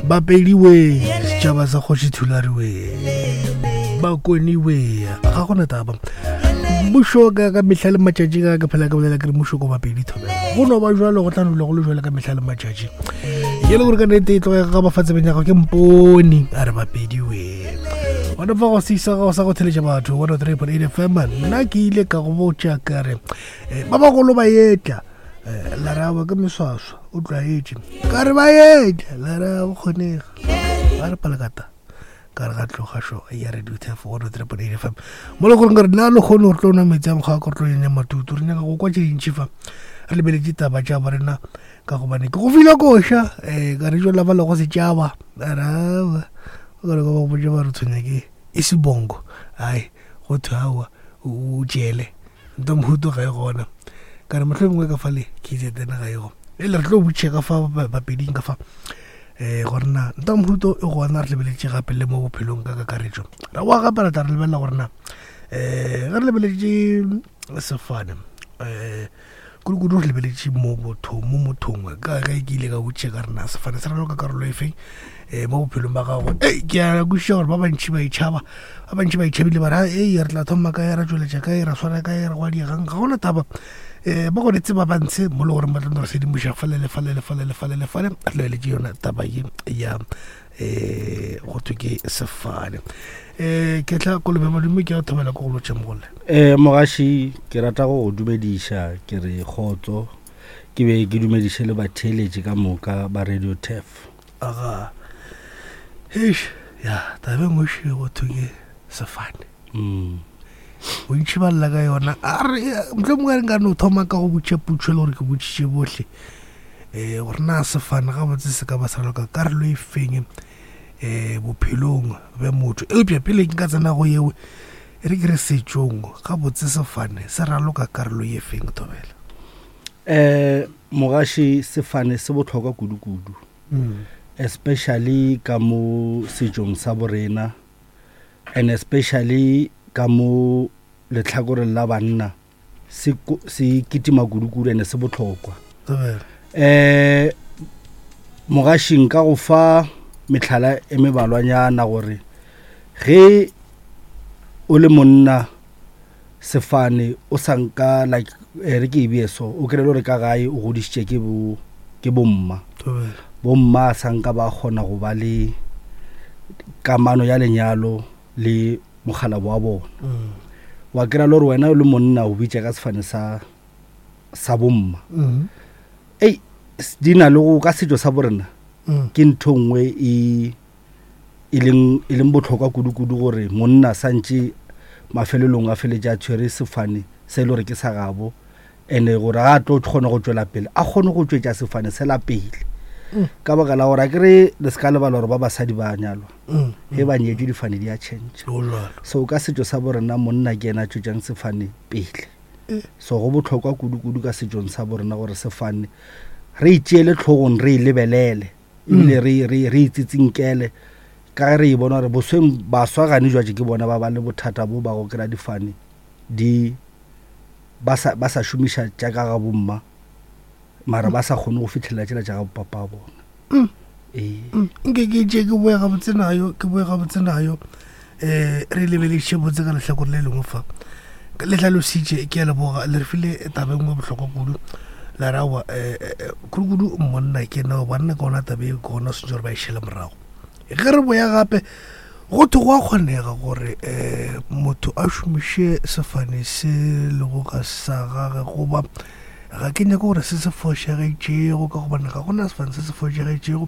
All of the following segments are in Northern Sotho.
Bapedi we, setšhaba sa kgoši Thulare we, Bakoni we, ga gona taba. Mmušo ka ka mehla le matšatši ka ke phela ka bolela ke re mmušo ko Bapedi thobela. Go no ba jwalo go tla no dula go le jwalo ka mehla le matšatši. Ke le gore ka nnete e tloge ga ba fa tsebeng ya gago ke mpone a re Bapedi we. Gona fa go sisa go sa go theletša batho 103.8 FM nna ke ile ka go botša ka re eh, ba bagolo ba etla eh, la re awa ke meswaswa o tlwaetše ka re ba etla la re a kgonega ba re palakata ka re ga tloga šo ya radio tef 103.8 fm mo le goreng ka re nna le kgone gore tlo nwa metsi a mokgwa ka re tlo nyanya matutu re nyaka go kwa tše dintši fa re lebeletše taba tša ba rena ka gobane ke go file koša um ka re jo lapa le go setšaba arawa o ka re ka ba go botša ba re tshwenya ke e sebongo ai go thwe aowa o tšele nto mohuto ga e gona ka re motlho mongwe ka fale ke itse tena ga e go e le re tlo botšhe ka fa bapeding ka fa um gore na nto mohuto e gona re lebeletše gape le mo bophelong ka kakaretšo ra boa gape re tla re lebelela gore na um ge re lebeletše sefane um kudu-kudu re lebeletše mo botho mo mothong ka ge ke ile ka botše ka rena sefane se raloka karolo e feng um mo bophelong ba gago ei ke a kwešiša gore ba bantšhi ba itšhaba ba bantšhi ba itšhabile ba re ei re tla thoma kae ra tšweletša kae ra swara kae ra gwa diegang ga gona taba um ba gone tseba ba ntshe mo le gore ba tla no re sedimoša fale le fale le fale le fale le fale re lebeletše yona taba ye ya um go thwe ke sefane um ke tla kolobe madume ke a thobela ko go lotšhe mogole um mogaši ke rata go go dumediša ke re kgotso ke be ke dumediše le batheeletši ka moka ba radio tef aga eish ya tabe nngwe še go thwe ke sefane mm. bontšhi ba lla ka yona a re motlho mongwe a re nka no thoma ka go botša putšho le gore ke botšiše bohle um gore na sefane gabotse se ka ba sa loka karolo e feng um bophelong bja motho eupša pele ke ka tsena go yeo e re ke re setšong gabotse sefane se raloka karolo ye feng thobela um mogaši sefane se bohlokwa kudu-kudu mm. especially ka mo setšong sa borena and especially ka mo letlhakoreng la banna se se kitima kudu-kudu ene se bohlokwa um mogaši nka go fa metlhala e mebalwanyana gore ge o le monna sefane o sa nka like eh, re ke e bee so o kry-e le gore ka gae o godišitše ke bo ke bomma bomma a sa nka ba kgona go ba le kamano ya lenyalo le mokgalabo wa bona mm. wa kry-a le gore wena o le monna o bitša ka sefane sa sa bomma mm. ei di na le go ka setšo sa borena mm. ke ntho nngwe e e leng e leng botlhokwa kudu-kudu gore monna santše mafelelong a feletše a tshwere sefane se e le gore ke sa gabo and-e gore ga a tlo kgona go tšwela pele a kgone go tšwetša sefane sela pele mm. ka baka la gore a kere le se ka lebala gore ba basadi ba nyalwa mm, ge ba nyetše difane di a change so ka setšo sa borena monna ke ena a tšwetšang sefane pele eh. so go bohlokwa kudu-kudu ka setšong sa borena gore sefane re itšeele tlhogong re e lebelele ebile re itsitsinkele ka ge re e bona gore bosweng baswa gane jwatše ke bona ba ba le bothata bo ba go kry-a difane di ba sa ba sa šomiša tša ka ga bomma mara ba sa kgone go fitlhelela tšela tša ga bopapa bona mm. ee mm. nke ke tše ke boe gabotse nayo ke boe gabotse nayo um re lebeletše botse ka lehlakore le lengwe fa le hlalositše ke a leboga le re file taba e nngwe bohlokwa kudu la rawa um eh, eh, kudu-kudu monna ke nao banna ke ona tabe e ke gona swantse gore ba e šele morago ge re boya gape Go thwe go a kgonega gore motho a šomiše sefane se lego ga sa gage goba ga ke nyake gore se se fošagetšego ka gobane ga gona sefane se se fošagetšego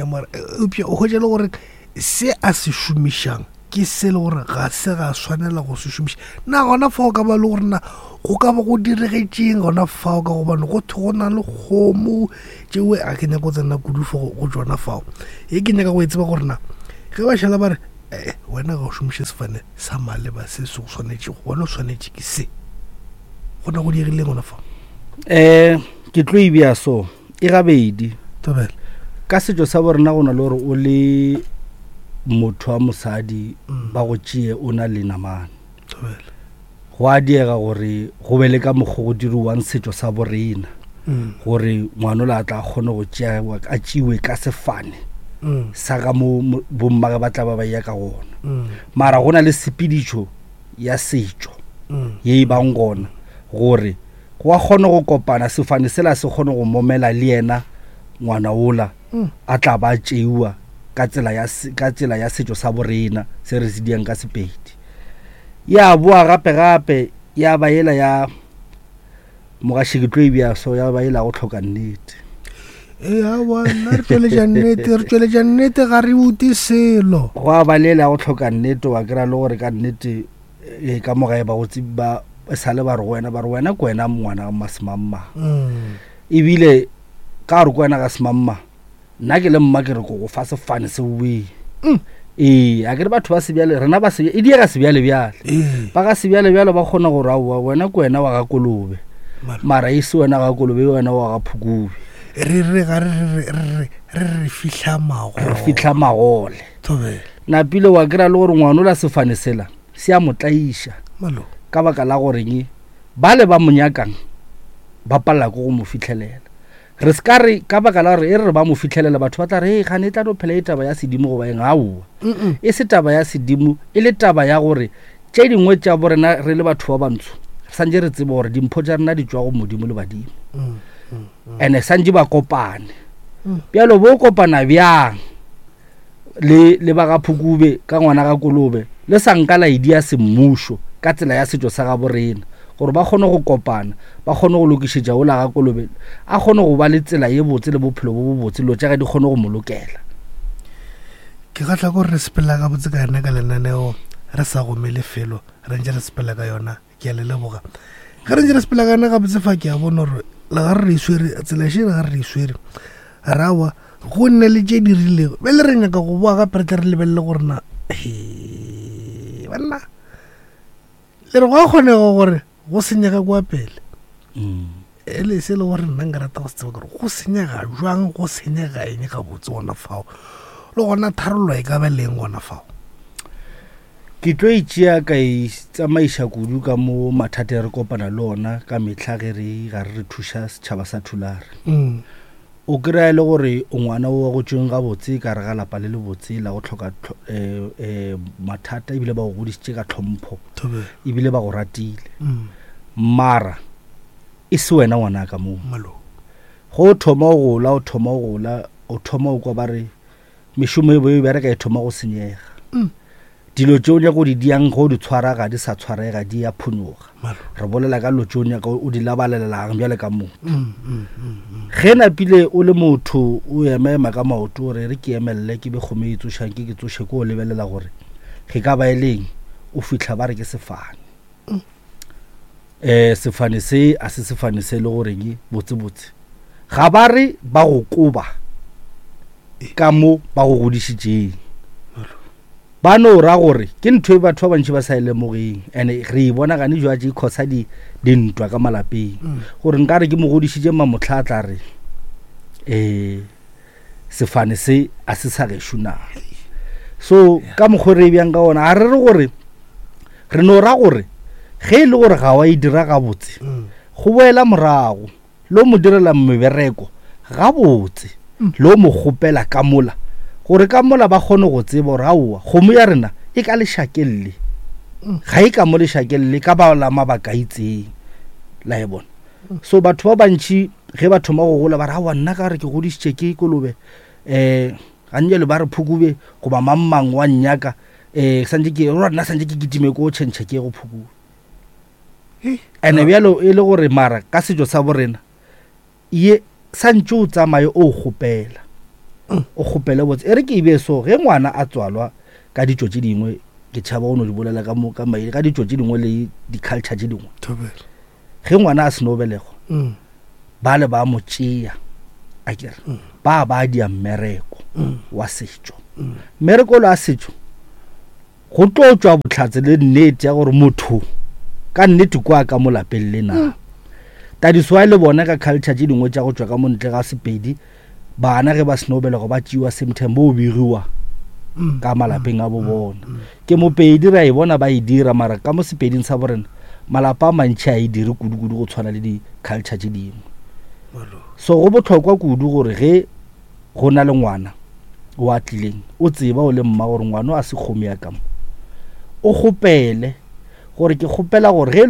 mara eupša o hwetša le gore se a se šomišang ke se le gore ga se ga swanela go se šomiša. Na gona fao ka ba le gore na go ka ba go diregetšeng gona fao ka gobane go thwe go na le kgomo tšeo a ke nyaka go tsena kudu fo go tšona fao e ke nyaka go e tseba gore na ge ba šala ba re ee wena ga o šomiše sefane sa maleba se se go swanetšego wena o swanetše ke se gona go diregileng gona fao um ke tlo e bea so e gabedi tobela ka setšo sa borena go na le gore o le motho wa mosadi mm. ba go tšee o na le namane tobela Go a diega gore go be le ka mokgwa go diriwang setšo sa borena mm. gore ngwanola a tla kgone go tšewa a tšewe ka sefane. Sa ka mo bommage ba tla ba ba ya ka gona. Mara go na le sepedišo ya setšo ye e bang gona gore go a kgone go kopana sefane sela se kgone go momela le yena ngwana ola a tla ba tšeiwa ka tsela ya ka tsela ya setšo sa borena se re se diang ka Sepedi. Ya boa gape gape ya ba yela ya mogaši ke tlo e bja so ya ba yela go tlhoka nnete. Ee, aowa, nna re tšweletša nnete, re tšweletša nnete, ga re ute selo. Go a ba lela go tlhoka nnete, wa kry-a le gore ka nnete e ka mo gae ba go ba e sale ba re go wena, ba re wena ke wena ngwana ga semangmang. Ebile ka gore ke wena ga semangmang, nna ke le mma ke re ko go fa sefane se wee. Ee, a ke re batho ba sebjale, rena ba sebjale, e diega sebjale-bjale. Ba ga sebjale-bjale ba kgona gore aowa, wena ke wena wa ga Kolobe. Mara e se wena ga Kolobe, e wena wa ga Phukube. Re re ga re re re re re re fihla magole. Re fihla magole. Thobela. Napile wa kry-a le gore ngwanola sefane sela se a mo tlaiša. Malo. Ka baka la goreng bale ba mo nyakang ba palela ke go mo fitlhelela. Re se ka re ka baka la gore e re re ba mo fitlhelela batho ba tla re, gane e tla no phela e taba ya sedimo goba eng. Aowa, e se taba ya sedimo, e le taba ya gore tše dingwe tša borena re le batho ba bantsho re santše re tseba gore dimpho tša rena di tšwa go Modimo le badimo, and-e santše ba kopane. Bjalo bo kopana bjang le le ba ga Phukube ka ngwana ga Kolobe le sa nka la idia semmušo ka tsela ya setšo sa gabo rena gore ba kgone go kopana, ba kgone go lokišetša ola ga Kolobe a kgone go ba le tsela ye botse le bophelo bo bobotse, dilo tša ge di kgone go mo lokela. Ke kgahla ke gore re sepela gabotse ka yona ka lenaneo re sa gomele felo, re ntše re sepela ka yona. Ke a le leboga. Ge re ntše re sepela ka yona gabotse fa, ke a bona gore le ga re re swere tsela še, le ga re re swere rawa go nne le tše di rilego. Bjale re nyaka go boa gape re tle re lebelele gore na he banna le re go a kgonega gore go senyega kwa pele. E le se le gore nna nka rata go se tseba gore go senyega jwang, go senyega eng gabotse gona fao, le gona tharollo e ka ba leng gona fao. Ke tlo e tšea ka e tsamaiša kudu ka mo mathata re kopana le ona ka mehla ge re ga re re thuša setšhaba sa Thulare. O kry-a e le gore o ngwana o wa go tšweng gabotse ka re ga lapa le lebotse la go tlhoka mathata, ebile ba go godišitše ka tlhompho, ebile ba go ratile, mara e se wena ngwana ka moo. Go o thoma o gola, o thoma o gola, o thoma o kwa ba re mešomo e bo e bereka e thoma go senyega. Dilo tše o nyaka o di diang ge o di tshwara ga di sa tshwarega, di a phunyoga. Re bolela ka dilo tše o nyaka o di labalelelang bjale ka motho. Ge napile o le motho o ema-ema ka maoto o re re ke emelele ke be kgomo e tsošang ke ke tsoše, ke o lebelela gore ge ka ba e leng, o fihla ba re ke sefane. Sefane se a se sefane se e le goreng botsebotse ga ba re ba go koba ka mo ba go godišitšeng, ba no ra gore ke ntho e batho ba bantši ba sa e lemogeng, and-e re e bona gane jwa tše khosa dintwa ka malapeng, gore nka re ke mo godišitše mamotlha a tla re sefane se a se sa gešo na. So ka mokgwa re e bjang ka ona, ga re re gore re no ra gore ge e le gore ga wa e dira gabotse, go boela morago le o mo direla mebereko gabotse, le o mo kgopela ka mola gore ka mola ba kgone go tseba gore aowa kgomo ya rena e ka lešakeng le, ga e ka mo lešakeng le ka ba la mabaka a itseng, la e bona. So batho ba bantši ge ba thoma go gola ba re aowa nna ka re ke godišitše ke kolobe, gantši ba re phukube goba mang mang wa nnyaka, santše ke rora nna santše ke kitime ko tšhentšhe ke go phukube. Ene bjalo e le gore mara ka setšo sa borena ye santše o tsamaye o kgopela, o kgopele botse. E re ke e be so, ge ngwana a tswalwa ka ditšo tše dingwe, ke tšhaba go no di bolela ka mo ka maele, ka ditšo tše dingwe le di-culture tše dingwe, ge ngwana a seno belegwa, ba le ba mo tšea a kere ba ba dia mmereko wa setšo. Mmereko lo a setšo go tlo tšwa bohlatse le nnete ya gore motho ka nnete kwa ka mo lapeng le na. Tadiso le bona ka culture tše dingwe tša go tšwa ka mo ntle ga Sepedi, bana ge ba seno belegwa ba tšeiwa same time bo begiwa ka malapeng a bo bona. Ke mopedi re a e bona ba e dira, mara ka mo Sepeding sa borena malapa a mantši a e dire kudu-kudu go tshwana le di-culture tše dingwe. So go bohlokwa kudu gore ge go na le ngwana o a tlileng o tseba o le mma gore ngwano a se kgomo ya ka mo, o kgopele gore ke kgopela gore ge e